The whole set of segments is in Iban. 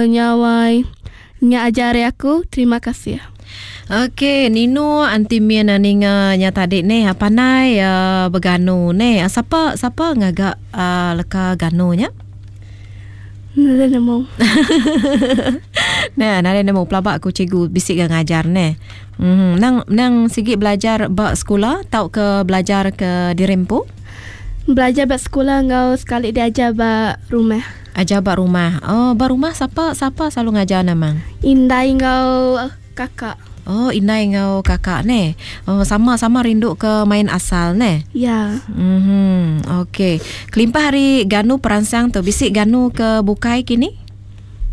Nyawai. Nya aja ari aku, terima kasih. Okey, Nino anti min ninga nya tadi neh pandai beganu neh. Sapa sapa ngaga leka ganu nya? Nadai nemu. Neh, nadai nemu pelaba aku cikgu bisi ga ngajar neh. Uhh nang nang sigi belajar ba sekula tauka belajar ke diri empu? Belajar ba sekula enggau sekali diajar ba rumah. Ajar ba rumah. Oh, ba rumah sapa sapa selalu ngajar ne mang? Indai enggau kakak. Oh, indai enggau kakak neh. Oh, sama sama rindu ke main asal neh. Ya. Mhm. Okey. Kelimpah ari ganu peransang tu bisi ganu ke bukai kini?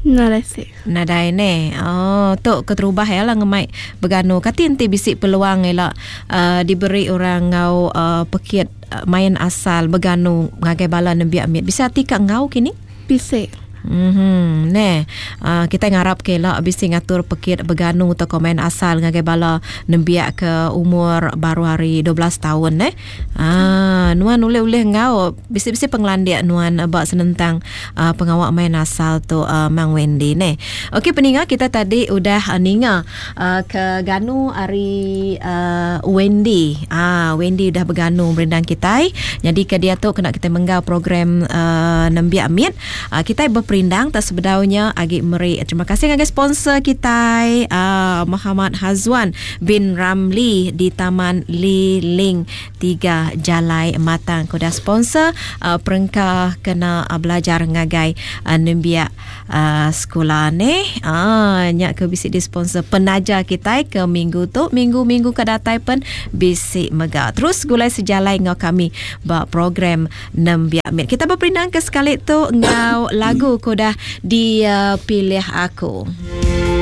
Nadai sik. Nadai neh. Oh, tu keterubah iya lah ngemai beganu. Kati enti bisi peluang ila uh, diberi orang enggau uh, pekit main asal beganu ngagai bala nembiak mit. Bisi ati ka enggau kini? Bisi. Mhm neh. Uh, kitai ngarap ke ila bisi ngatur pekit beganu tauka main asal ngagai bala nembiak ke umur baru hari 12 taun neh. Ah, nuan ulih-ulih enggau bisi-bisi pengelandik nuan ba senentang uh, pengawa main asal tu uh, Mang Wendy neh. Okey peninga kita tadi udah uh, ninga uh, ke ganu ari uh, Wendy. Ah, Wendy udah beganu merindang kitai. Nyadi ke dia tu kena kita menggau program uh, nembiak mit. Uh, kitai beperindang tak sebedaunya agi meri terima kasih ngagai sponsor kitai uh, Muhammad Hazwan bin Ramli di Taman Li Ling 3 Jalai Matang ke udah sponsor uh, perengka kena uh, belajar ngagai uh, nembiak uh, sekula ni. Uh, nya ke bisi di sponsor penaja kitai ke minggu tu, minggu-minggu ke datai pen bisi mega. Terus gulai sejalai enggau kami ba program Nembiak mit. Kita beperindang ke sekali tu enggau lagu ke udah dipilih aku.